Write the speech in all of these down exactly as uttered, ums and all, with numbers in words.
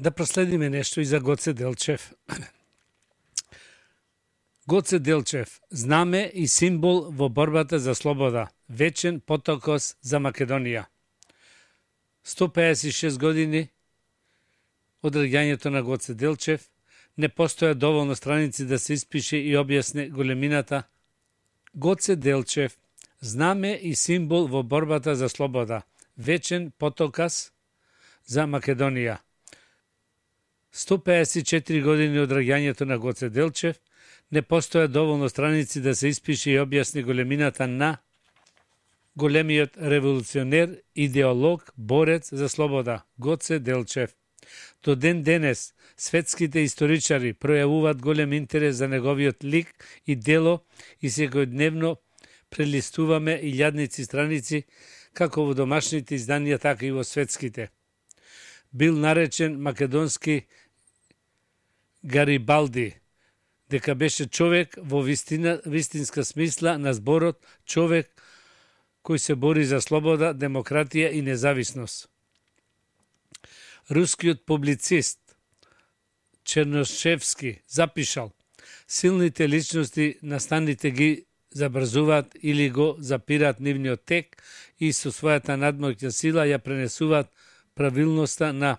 Да проследиме нешто и за Гоце Делчев. Гоце Делчев, знаме и символ во борбата за слобода, вечен потокос за Македонија. сто пеесет и шест години од раѓањето на Гоце Делчев, не постоја доволно страници да се испише и објасне големината. Гоце Делчев, знаме и символ во борбата за слобода, вечен потокас за Македонија. сто пеесет и четири години од раѓањето на Гоце Делчев, не постоја доволно страници да се испише и објасни големината на големиот револуционер, идеолог, борец за слобода, Гоце Делчев. До ден денес, светските историчари пројавуваат голем интерес за неговиот лик и дело и секојдневно прелистуваме илјадници страници, како во домашните изданија, така и во светските. Бил наречен македонски Гарибалди, дека беше човек во вистина, вистинска смисла на зборот, човек кој се бори за слобода, демократија и независност. Рускиот публицист Черношевски запишал: силните личности настаните ги забрзуваат или го запираат нивниот тек и со својата надмоќна сила ја пренесуваат правилноста на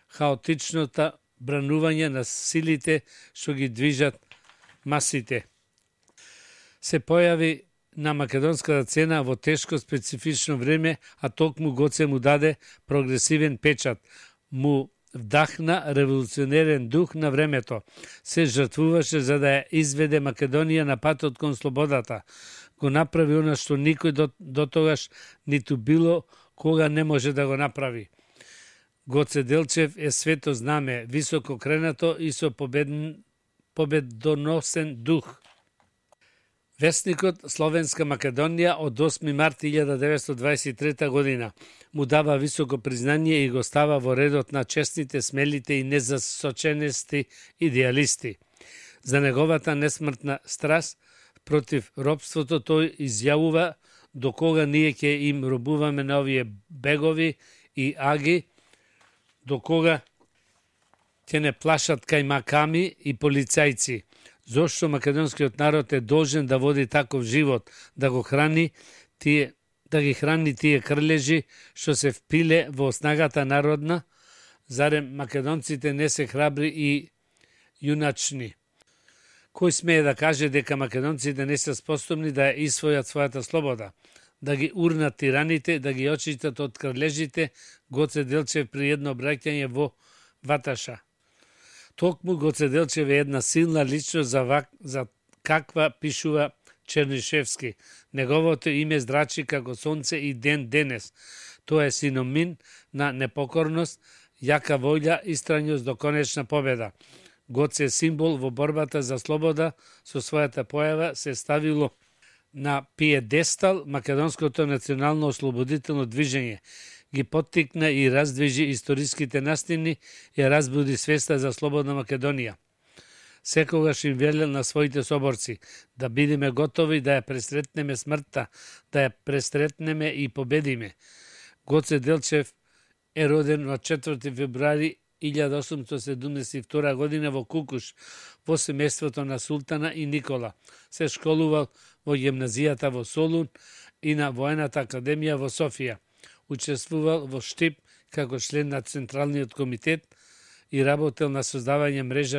хаотичната бранување на силите што ги движат масите. Се појави на македонската цена во тешко специфично време, а токму Гоце му даде прогресивен печат, му вдахна револуционерен дух на времето, се жртвуваше за да ја изведе Македонија на патот кон слободата. Го направи она што никој до, до тогаш ниту било кога не може да го направи. Гоце Делчев е свето знаме, високо кренато и со победн, победоносен дух. Весникот Словенска Македонија од осми март илјада деветстотини дваесет и трета година му дава високо признание и го става во редот на честните, смелите и незасоченести идеалисти. За неговата несмртна страст против робството тој изјавува: до кога ние ќе им робуваме на овие бегови и аги, до кога ќе не плашат кајмаками и полицајци. Зошто македонскиот народ е должен да води таков живот, да го храни тие, да ги храни тие крлежи што се впиле во снагата народна? Зарем македонците не се храбри и јуначни? Кој смее да каже дека македонците не се способни да ја исвојат својата слобода, да ги урнат тираните, да ги очистат од крлежите? Гоце Делчев при едно обраќање во Ваташа. Токму Гоце Делчев е една силна личност за, вак, за каква пишува Чернишевски. Неговото име зрачи како сонце и ден денес. Тоа е синоним на непокорност, јака волја и страњост до конечна победа. Гоце е символ во борбата за слобода, со својата појава се ставило на пиедестал македонското национално ослободително движење, ги поттикна и раздвижи историските настини и разбуди свеста за слободна Македонија. Секогаш им велел на своите соборци да бидеме готови да ја пресретнеме смртта, да ја пресретнеме и победиме. Гоце Делчев е роден на четврти февруари илјада осумстотини седумдесет и втора година во Кукуш, во семејството на Султана и Никола. Се школувал во гимназијата во Солун и на Воената академија во Софија. Учествувал во Штип како член на Централниот комитет и работел на создавање мрежа